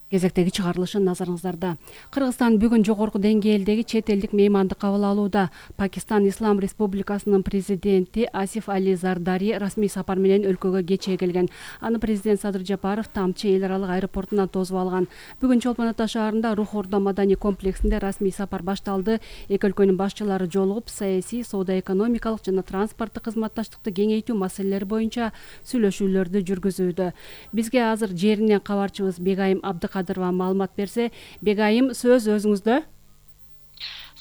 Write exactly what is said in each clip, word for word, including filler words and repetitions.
Кезектеги чыгарылышын назарыңыздарда. Кыргызстан бүгүн жогорку деңгээлдеги чет элдик мейманды кабыл алууда. Пакистан Ислам Республикасынын президенти Асиф Али Зардари расмий сапар менен өлкөгө кечээ келген. Аны президент Садыр Жапаров Тамчы эл аралык аэропортунан тосуп алган. Бүгүн Чолпон Ата шаарында Рух Ордо маданий комплексинде расмий сапар башталды. Эки өлкөнүн башчылары жолугуп, саясий, соода-экономикалык жана транспорттук кызматташтыкты кеңейтүү маселелери боюнча сүйлөшүүлөрдү жүргүзүүдө. Бизге азыр жеринен кабарчыбыз Бегайым Абдыкадырова маалымат берсе. Бегайым, сөз өзүңүздө.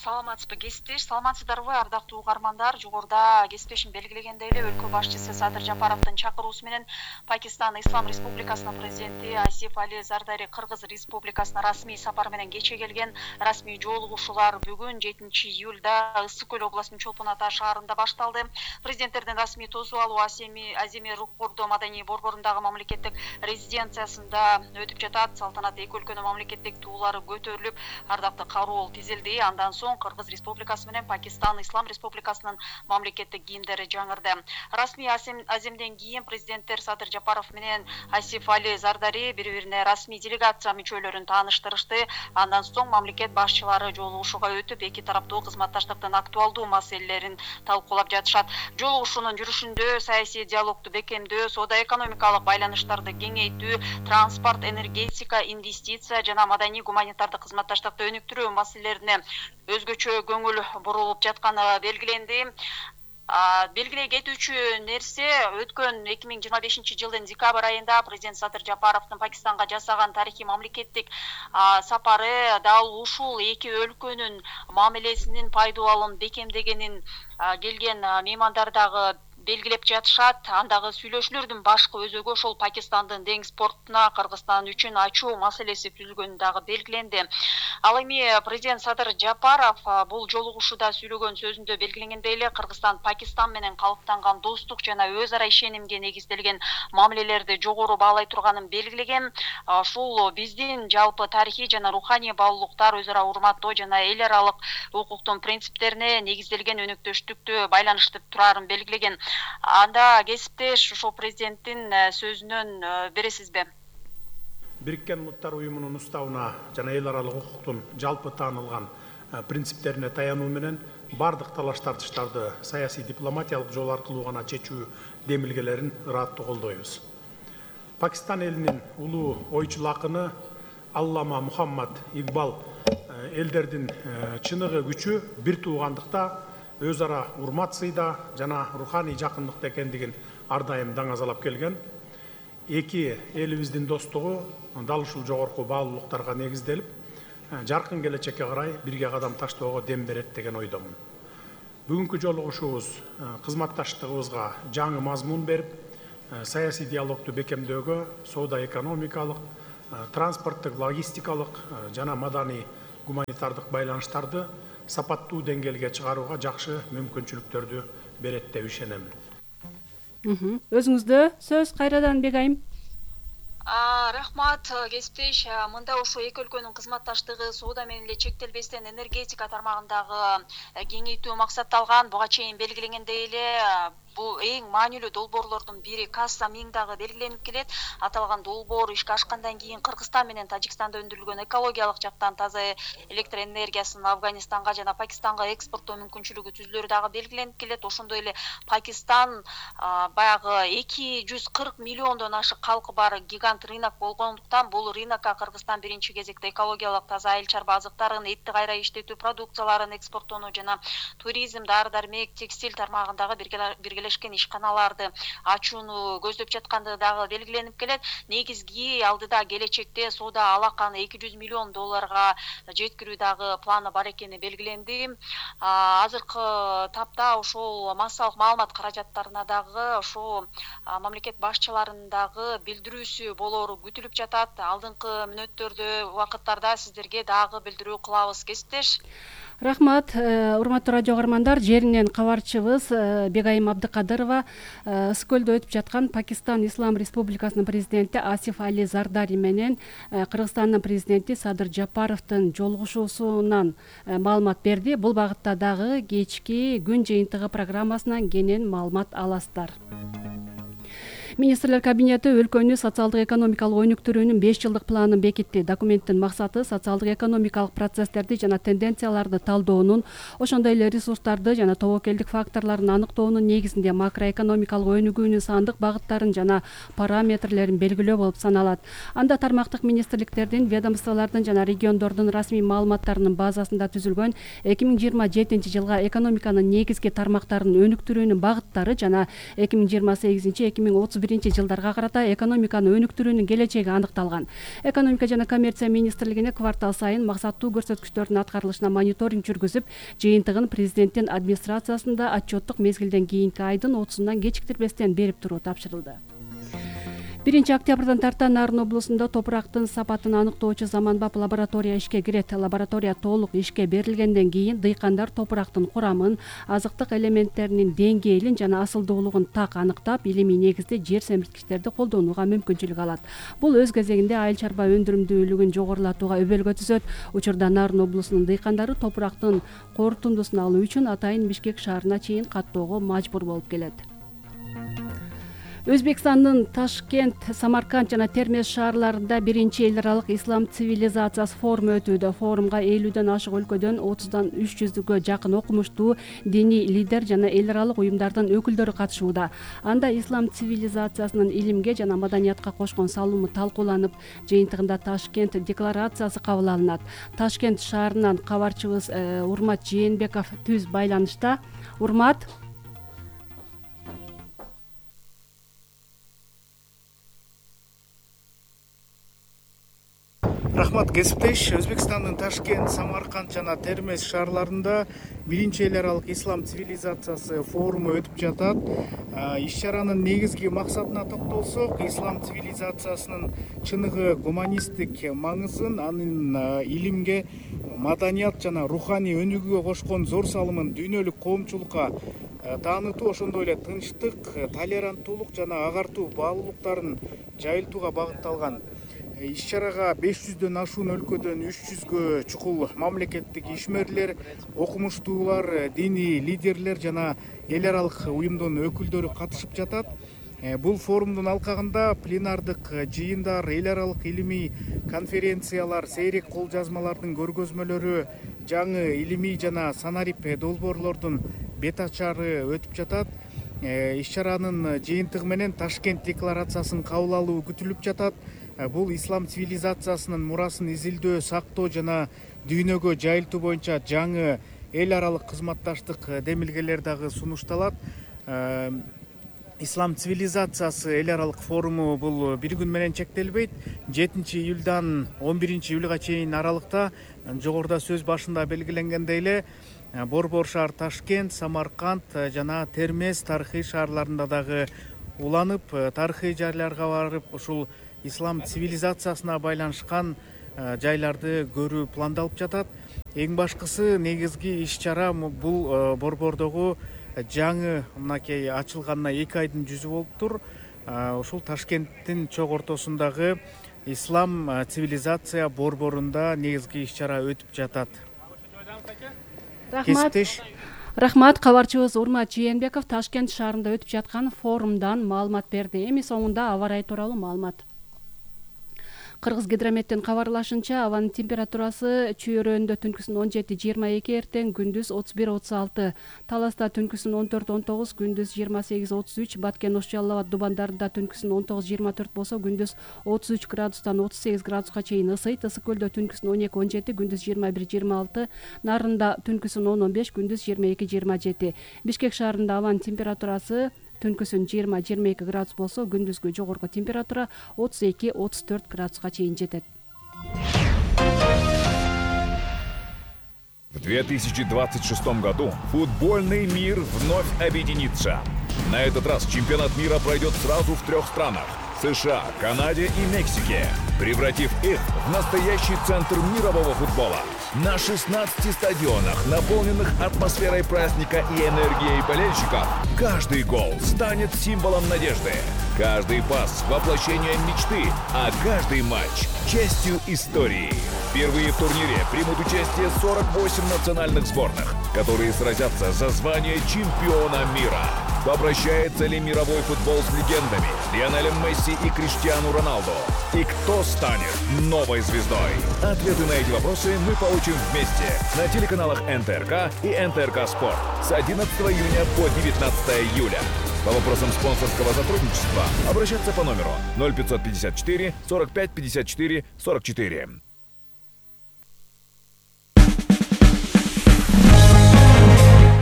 Саламатсызбы кесиптеш, саламатсыздарбы ардактуу угармандар. Жогоруда кесиптешим белгилегендей эле өлкө башчысы Садыр Жапаровдун чакыруусу менен Пакистан Ислам Республикасынын президенти Асиф Али Зардари Кыргыз Республикасына расмий сапар менен кечээ келген. Расмий жолугушуулар бүгүн жетинчи июлда Ысык Көл областынын Чолпон Ата шаарында башталды. Президенттердин расмий тосуп алуу Аземи Рух Ордо маданий борборундагы мамлекеттик резиденциясында өтүп жатат. Салтанат эки өлкөнүн мамлекеттик туулары көтөрүлүп, ардактуу кароол тизилди. Андан соң Кыргыз Республикасы менен Пакистан Ислам Республикасынын мамлекеттик кийимдери жаңырды. Расмий аземден кийин президенттер Садыр Жапаров менен Асиф Али Зардари бири-бирине расмий делегация мүчөлөрүн тааныштырышты. Андан соң мамлекет башчылары жолугушууга өтүп, эки тараптуу кызматташтыктын актуалдуу маселелерин талкуулап жатышат. Жолугушуунун жүрүшүндө саясий диалогду бекемдөө, соода-экономикалык байланыштарды кеңейтүү, транспорт, энергетика, инвестиция жана маданий гуманитардык кызматташтыкты өнүктүрүү маселелерине өзгөчө көңүл бурулуп жатканы белгиленди. Белгилей кетүүчү нерсе, өткөн эки миң жыйырма бешинчи жылдын декабрь айында президент Садыр Жапаровдун Пакистанга жасаган тарыхый мамлекеттик сапары дал ушул эки өлкөнүн мамилесинин пайдалуулун бекемдегенин келген меймандар дагы белгилеп жатышат. Андагы сүйлөшүүлөрдүн башкы өзөгү ошол Пакистандын деңиз портуна Кыргызстан үчүн ачуу маселеси түзүлгөнү дагы белгиленди. Ал эми президент Садыр Жапаров бул жолугушууда сүйлөгөн сөзүндө белгиленгендей эле Кыргызстан Пакистан менен калыптанган достук жана өз ара ишенимге негизделген мамилелерди жогору баалай турганын белгилеген. Ушул биздин жалпы тарыхый жана руханий баалуулуктар өз ара урматтоо жана эл аралык укуктун принциптерине негизделген өнөктөштүктү байланыштырып турарын белгилеген. Анда кесиптеш ошол президенттин сөзүнөн бересизби? Бириккен Улуттар уюмунун уставына жана эл аралык укуктун жалпы таанылган принциптерине таянуу менен бардык талаш тартыштарды саясий дипломатиялык жол аркылуу гана чечүү демилгелерин ыраттуу колдойбуз. Пакистан элинин улуу ойчул акыны Аллама Мухаммад Игбал элдердин чыныгы күчү бир туугандыкта, өз ара урмат сыйда жана руханий жакындыкта экендигин ар дайым даңазалап келген. Эки элибиздин достугу дал ушул жогорку баалуулуктарга негизделип, жаркын келечекке карай бирге кадам таштоого дем берет деген ойдомун. Бүгүнкү жолугушуубуз кызматташтыгыбызга жаңы мазмун берип, саясий диалогду бекемдөөгө, соода-экономикалык, транспорттук, логистикалык жана маданий гуманитардык байланыштарды сапаттуу деңгээлге чыгарууга жакшы мүмкүнчүлүктөрдү берет деп ишенем. Өзүңүздө сөз кайрадан Бегайым. Рахмат кесиптеш. Мында ошо эки өлкөнүн кызматташтыгы соода менен эле чектелбестен энергетика тармагындагы кеңейтүү максатталган. Буга чейин белгиленгендей эле бул эң маанилүү долбоорлордун бири Касса миң дагы белгиленип келет. Аталган долбоор ишке ашкандан кийин Кыргызстан менен Тажикстанда өндүрүлгөн экологиялык жактан таза электр энергиясын Афганистанга жана Пакистанга экспорттоо мүмкүнчүлүгү түзүлөрү дагы белгиленип келет. Ошондой эле Пакистан баягы эки жүз кырк миллиондон ашык калкы бар гигант рынок болгондуктан бул рынокко Кыргызстан биринчи кезекте экологиялык таза айыл чарба азыктарын, этти кайра иштетүү продукцияларын экспорттоону жана туризм, дары-дармек, текстиль тармагындагы биргелешкен ишканаларды ачууну көздөп жаткандыгы дагы белгиленип келет. Негизги алдыда келечекте соода алаканы эки жүз миллион долларга жеткирүү дагы планы бар экени белгиленди. Азыркы тапта ошол массалык маалымат каражаттарына дагы ошо мамлекет башчыларынын дагы билдирүүсү болору күтүлүп жатат. Алдыңкы мүнөттөрдө, убакыттарда сиздерге дагы билдирүү кылабыз кесиптеш. Рахмат, урматтуу радио угармандар, жеринен кабарчыбыз Бегайым Абдыкадырова Ысык Көлдө өтүп жаткан Пакистан Ислам Республикасынын президенти Асиф Али Зардари менен Кыргызстандын президенти Садыр Жапаровдун жолугушуусунан маалымат берди. Бул багытта дагы кечки күн жыйынтыгы программасынан кенен маалымат аласыздар. Министрлер кабинети өлкөнү социалдык экономикалык өнүктүрүүнүн беш жылдык планын бекитти. Документтин максаты социалдык экономикалык процесстерди жана тенденцияларды талдоонун, ошондой эле ресурстарды жана тобокелдик факторлорун аныктоонун негизинде макроэкономикалык өнүгүүнүн сандык багыттарын жана параметрлерин белгилөө болуп саналат. Анда тармактык министрликтердин, ведомстволордун жана региондордун расмий маалыматтарынын базасында түзүлгөн эки миң жыйырма жетинчи жылга экономиканын негизги тармактарын өнүктүрүүнүн багыттары жана эки миң жыйырма сегизинчи эки миң отуз биринчи жылдарга карата экономиканы өнүктүрүүнүн келечеги аныкталган. Экономика жана коммерция министрлигине квартал сайын максаттуу көрсөткүчтөрдүн аткарылышына мониторинг жүргүзүп, жыйынтыгын президенттин администрациясында отчеттук мезгилден кийинки айдын отузунан кечиктирбестен берип туруу тапшырылды. биринчи октябрдан тарта Нарын облусунда топурактын сапатын аныктоочу заманбап лаборатория ишке кирет. Лаборатория толук ишке берилгенден кийин дыйкандар топурактын курамын, азыктык элементтеринин деңгээлин жана асылдуулугун так аныктап, илимий негизде жер семирткичтерди колдонууга мүмкүнчүлүк алат. Бул өз кезегинде айыл чарба өндүрүмдүүлүгүн жогорулатууга өбөлгө түзөт. Учурда Нарын облусунун дыйкандары топурактын корутундусун алуу үчүн атайын Бишкек шаарына чейин каттоого мажбур болуп келет. Өзбекстандын Ташкент, Самарканд жана Термез шаарларында биринчи эл аралык ислам цивилизациясы форуму өтүүдө. Форумга элүүдөн ашык өлкөдөн отуздан үч жүзгө жакын окумуштуу диний лидер жана эл аралык уюмдардын өкүлдөрү катышууда. Анда ислам цивилизациясынын илимге жана маданиятка кошкон салымы талкууланып, жыйынтыгында Ташкент декларациясы кабыл алынат. Ташкент шаарынан кабарчыбыз Урмат Жээнбеков түз байланышта. Урмат. Рахмат, кесиптеш. Өзбекстандын Ташкент, Самарканд жана Термез шаарларында биринчи эл аралык ислам цивилизациясы форуму өтүп жатат. Иш-чаранын негизги максатына токтолсок, ислам цивилизациясынын чыныгы гуманисттик маңызын, анын илимге, маданият жана руханий өнүгүүгө кошкон зор салымын дүйнөлүк коомчулукка таанытуу, ошондой эле тынчтык, толеранттуулук жана агартуу баалуулуктарын жайылтууга багытталган. Иш-чарага беш жүздөн ашуун өлкөдөн үч жүзгө чукул мамлекеттик ишмерлер, окумуштуулар, диний лидерлер жана эл аралык уюмдун өкүлдөрү катышып жатат. Бул форумдун алкагында пленардык жыйындар, эл аралык илимий конференциялар, сейрек кол жазмалардын көргөзмөлөрү, жаңы илимий жана санарип долбоорлордун бет ачары өтүп жатат. Иш-чаранын жыйынтыгы менен Ташкент декларациясын кабыл алуу күтүлүп жатат. Бул ислам цивилизациясынын мурасын изилдөө, сактоо жана дүйнөгө жайылтуу боюнча жаңы эл аралык кызматташтык демилгелер дагы сунушталат. Ислам цивилизациясы эл аралык форуму бул бир күн менен чектелбейт. жетинчи июлдан он биринчи июлга чейин аралыкта, жогоруда сөз башында белгиленгендей эле, Борбор шаар Ташкент, Самарканд жана Термез тарыхый шаарларында дагы уланып, тарыхый жайларга барып, ушул ислам цивилизациясына байланышкан жайларды көрүү пландалып жатат. Эң башкысы негизги иш-чара бул Борбордогу жаңы мынакей ачылганына эки айдын жүзү болуптур. Ушул Ташкенттин чок ортосундагы ислам цивилизация борборунда негизги иш-чара өтүп жатат. Рахмат. Рахмат, кабарчыбыз Урмат Жээнбеков Ташкент шаарында өтүп жаткан форумдан маалымат берди. Эми соңунда аба ырайы тууралуу маалымат. Кыргыз гидрометтин кабарлашынча, абанын температурасы Чүйөрөндө түнкүсүн он жети жыйырма эки, эртең күндүз отуз бир отуз алты, Таласта түнкүсүн он төрт он тогуз, күндүз жыйырма сегиз отуз үч, Баткен Ош Жалал Абад Дубандарында түнкүсүн он тогуз жыйырма төрт болсо, күндүз отуз үч градустан отуз сегиз градуска чейин ысыйт. Ысык көлдө түнкүсүн он эки он жети, күндүз жыйырма бир жыйырма алты, Нарында түнкүсүн он он беш, күндүз жыйырма эки жыйырма жети. Бишкек шаарында абанын температурасы түнкүсүн жыйырма жыйырма эки градус болсо, күндүзгү жогорку температура отуз эки отуз төрт градуска чейин жетет. В две тысячи двадцать шестом году футбольный мир вновь объединится. На этот раз чемпионат мира пройдет сразу в трех странах – США, Канаде и Мексике, превратив их в настоящий центр мирового футбола. На шестнадцати стадионах, наполненных атмосферой праздника и энергией болельщиков, каждый гол станет символом надежды, каждый пас – воплощением мечты, а каждый матч – частью истории. Впервые в турнире примут участие сорок восемь национальных сборных, которые сразятся за звание чемпиона мира. Попрощается ли мировой футбол с легендами Лионелем Месси и Криштиану Роналду? И кто станет новой звездой? Ответы на эти вопросы мы получим вместе на телеканалах эн тэ эр ка и эн тэ эр ка Спорт с одиннадцатого июня по девятнадцатое июля. По вопросам спонсорского сотрудничества обращаться по номеру ноль пятьсот пятьдесят четыре сорок пять пятьдесят четыре сорок четыре.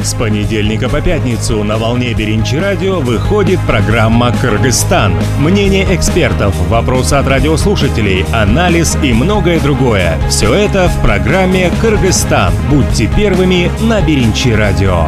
С понедельника по пятницу на волне Беринчи радио выходит программа «Кыргызстан». Мнение экспертов, вопросы от радиослушателей, анализ и многое другое. Все это в программе «Кыргызстан». Будьте первыми на Беринчи радио.